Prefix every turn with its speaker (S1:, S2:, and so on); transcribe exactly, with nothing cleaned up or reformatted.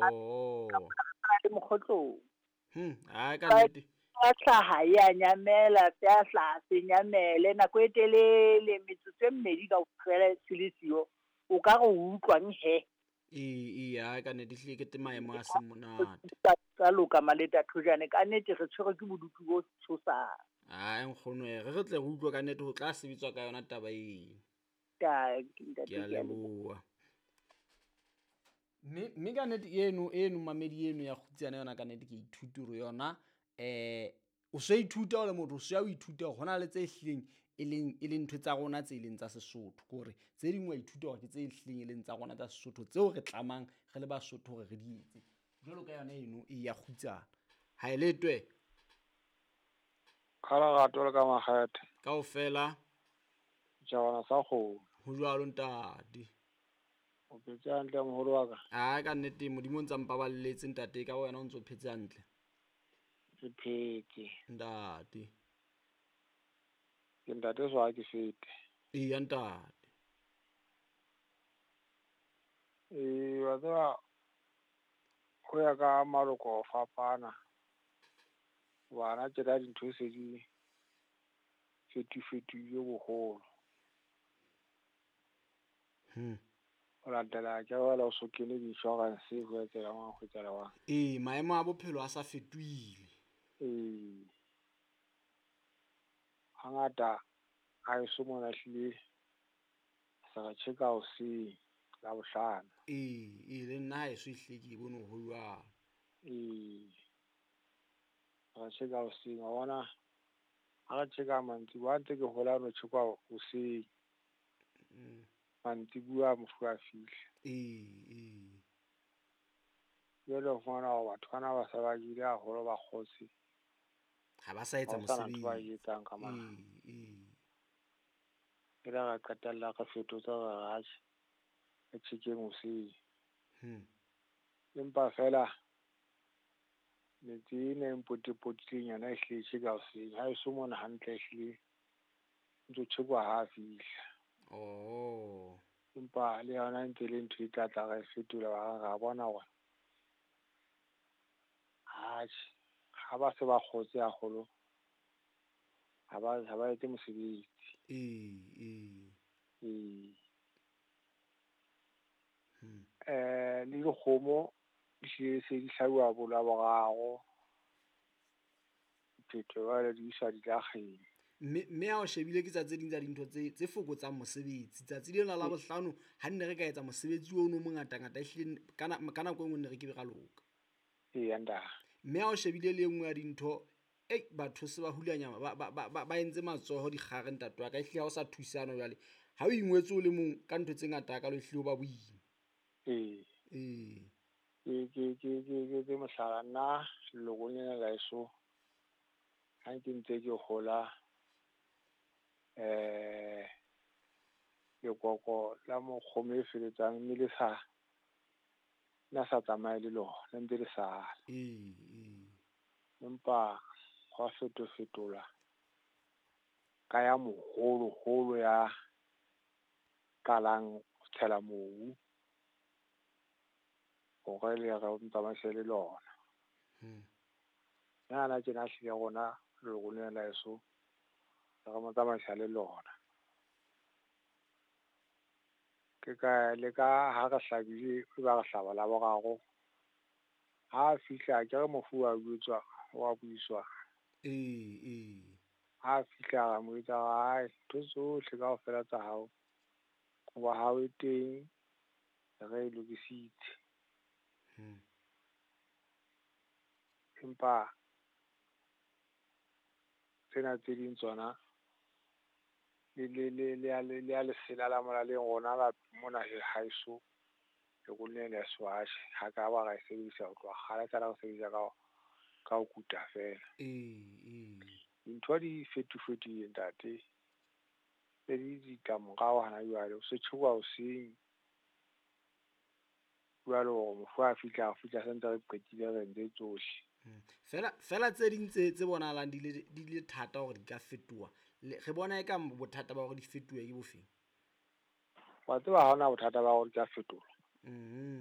S1: Oh.
S2: Le mokgotlong.
S1: Hmm, a ka nnete.
S2: Ya hlaha ya nyamela, ya hlaha se nyamele nako e telele metsotso e mmedi kaofela se le siyo. O ka re o utlwang he.
S1: Ee, ee, a ka nnete ehlile ke te maemo a seng monate.
S2: Tsa loka Maleta Thojane, ka nnete re tshwerwe ke bodutu bo tshosang.
S1: Ai nkgono, re re tle re utlwe ka nnete ho tla sebetswa ka yona taba eo.
S2: Ke ntate,
S1: Ke a leboha. Mme mme ka nnete eno eno mamedi eno ya kgutsana yona ka nnete ke ithuta hore yona eh o so ithuta o le motho o so ya o ithuta hore hona le tse hlileng e leng e leng ntho tsa rona tse leng tsa Sesotho, ke hore tse ding wa ithuta hore ke tse hlileng e leng tsa rona tsa Sesotho tseo re tlamang re le Basotho hore re di etse. Jwalo ka yona eno e ya kgutsana. Ha e letwe.
S3: Ka lerato le ka makgethe.
S1: Kaofela.
S3: Setjhabana sa kgomo.
S1: Ho jwalo ntate.
S3: O phetse hantle moholo wa ka?
S1: Ah, ka nnete Modimo o ntsa mpaballetse ntate, ka wena o ntso phetse hantle.
S3: Ke phetse.
S1: Ntate.
S3: Ke ntate so ha ke fete.
S1: Eya ntate.
S3: Ee, wa tseba ho ya ka maloko ho fapana. Bana tjena dintho se di fetofetohile boholo.
S1: Hmm.
S3: Ho latela ke jwale o so kene di-insurance ho etsahala jwang, ho etsahala jwang.
S1: Ee, maemo a bophelo a sa fetohile.
S3: Ee. Hangata ha eso mona hlile se re tjheka hoseng Labohlano.
S1: Ee, ee, le nna haeso ehlile ke bone ho jwalo.
S3: Ee. Re tjheka hoseng wa bona, ha re tjheka mantsiboya ha ntse ke hola no tjhekwa hoseng.
S1: Mm.
S3: Mantsibuya mofu a fihla.
S1: Ee, ee.
S3: Jwale o fumana hore batho bana ba se ba jele haholo ba kgotse.
S1: Ha ba sa etsa
S3: Ha ho sana ntho ba
S1: mosebetsi.
S3: e etsang ka mane.
S1: Ee, ee.
S3: E le re qetella re fetotse re re atjhe, re tjhekeng hoseng.
S1: Hmm.
S3: Empa feela metse ena e mpotopotileng yona ehlile e tjheka hoseng. Ha eso mona hantle ehlile ntso tjhekwa ha fihla.
S1: Oh.
S3: Empa le yona e ntse le ntho e tla tla re fetola ba ra bona hore atjhe, ha ba se ba kgotse haholo, ha ba ha ba etse mosebetsi.
S1: Ee, ee.
S3: Ee.
S1: Hmm.
S3: Eh, le dikgomo di hlile se di hlabuwa bo Laboraro. Phetho jwale di iswa dilakgeng.
S1: Mme mme ha o shebile ke tsa tse ding tsa dintho tse tse fokotsang mosebetsi. Tsatsi lena la bohlano ha nne re ka etsa mosebetsi ono o mongatangata ehlile ka ka nako e nngwe ne re kebe ra loka.
S3: Eya ntate.
S1: Mme ha o shebile le e nngwe ya dintho, ei batho se ba hulanya ba ba ba ba entse matsoho dikgare ntate wa ka, ehlile ha o sa thusana jwale. Ha o ingwetse o le mong ka ntho tse ngata hakalo ehlile ho ba boima.
S3: Ee.
S1: Ee.
S3: Ke ke ke ke ke ke mohlala nna lelokong lena la heso ha ke ntse ke hola eh lekoko la mokgomo e feletsang mme le sa na sa tsamaye le lona, le ntse le sala.
S1: Ee, ee.
S3: Empa hwa fetofetola ka ya moholoholo ya qalang ho tshela mobu hore le re tsamaise le lona.
S1: Hmm.
S3: Nna tjena hlile rona lelokong lena la heso re mo tsamaisa le lona. Ke ka le ka ha re hlabile e ba re hlaba Laboraro. Ha fihla ke re mofu wa jwetswa wa buiswa.
S1: Ee, ee.
S3: Ha fihla ra mo jwetsa hore ai ntho tsohle kaofela tsa hao, kobo hao e teng re e lokisitse.
S1: Hmm.
S3: Empa tsena tse ding tsona le le le le ya le ya lesela la molaleng rona la mona haeso lelokong lena la heso atjhe, ha ka ba ra e sebedisa ho tloha kgale esale re sebedisa ka ka ho kuta feela.
S1: Ee, ee.
S3: Dintho di fetofetohile ntate. Se di ditlamorao hana jwale, o se tjhekwa hoseng. Jwale hore mofu ha fihla, a fihla se ntse re qetile re entse tsohle.
S1: Hmm. Fela fela tse ding tse tse bonahalang di le di le thata hore di ka fetoha. Le re bona eka bothata ba hore di fetohe ke bofeng?
S3: Wa tseba ha hona bothata ba hore di ka fetolwa.
S1: Mhm.